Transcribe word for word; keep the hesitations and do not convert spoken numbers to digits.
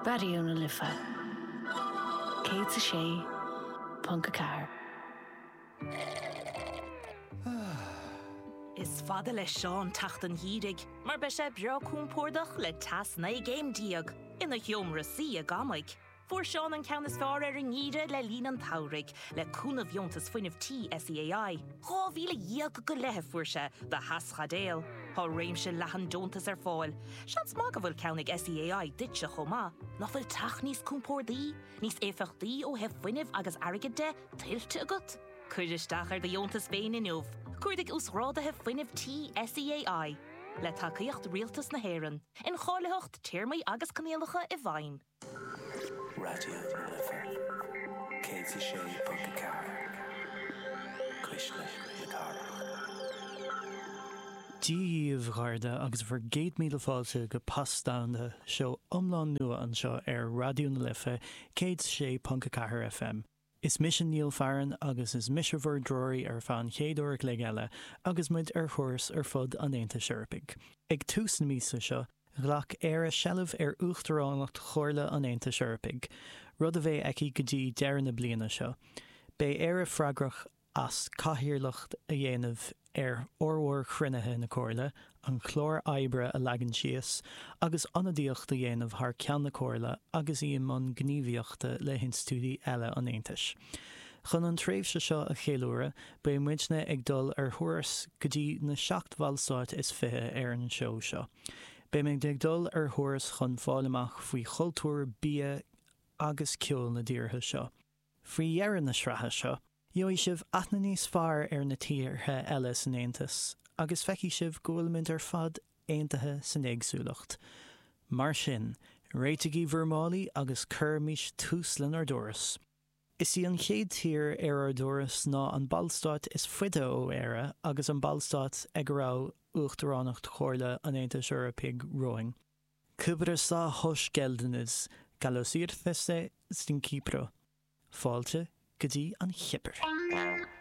Raidió na Life céad a sé ponc a ceathair. Is fada le Seán teacht an gheimhridh, mar beidh sé breá compordach le teas naoi gcéim déag ina sheomra suí i gCamaigh. Fuair Seán an ceann is fearr ar an ngeimhreadh le linn an tsamhraidh, le cúnamh dheontas fuinnimh tí SEAI. Dhá mhíle dhéag go leith a fuair sé do theaschaidéal. Tá réimse leathan deontas ar fáil. Seans maith go bhfuil ceann ag SEAI duitse chomh maith. Nach bhfuil teach níos compordaí, níos éifeachtaí ó thaobh fuinnimh agus airgid de, tuillte agat? Cuir isteach ar do dheontas féin inniu. Cuardaigh Uasghráduithe Fuinnimh Tí SEAI. Le tacaíocht Rialtas na hÉireann. Incháilitheacht, téarmaí agus coinníollacha i bhfeidhm. Raidió na Life céad a sé ponc a ceathair, Cuisle na Cathrach. Dia dhaoibh a chairde agus bhur gcéad míle fáilte go Pas Domhanda, seó iomlán nua anseo ar Raidió na Life céad a sé ponc a ceathair FM. Is mise Neil Farren agus is mise bhur dtreoraí ar feadh an chéad uair a chloig eile agus muid ar thuras ar fud an Aontais Eorpaigh. Ag tús na míosa seo, ghlac Éire seilbh ar Uachtaránacht Chomhairle an Aontais Eorpaigh, rud a bheidh aici go dtí deireadh na bliana seo. Beidh Éire freagrach as cathaoirleacht a dhéanamh ar fhormhór chruinnithe na Comhairle, an clár oibre a leagan síos, agus ionadaíocht a dhéanamh thar ceann na Comhairle agus í i mbun gníomhaíochta le hinstitiúidí eile an Aontais. Chun an tréimhse seo a cheiliúradh, beidh muidne ag dul ar thuras go dtí na seacht bhallstát is fiche ar an seó seo. Beimid ag dul ar thuras chun fáil amach faoi chultúr, bia agus ceol na dtíortha seo. Faoi dheireadh na sraithe seo, gheobhaidh sibh aithne níos fearr ar na tíortha eile san Aontas agus feicfidh sibh go bhfuilimid ar fad aontaithe san éagsúlacht. Mar sin, réitigí bhur málaí agus cuirimis tús lenár dturas. Is í an chéad tír ar ár dturas ná an ballstát is faide ó Éire agus an ballstát ag a raibh Uachtaránacht Chomhairle an Aontais Eorpaigh romhainn. Kıbrıs'a hoş geldiniz, Καλώς ήρθατε στην Κύπρο. Fáilte go dtí an Chipir.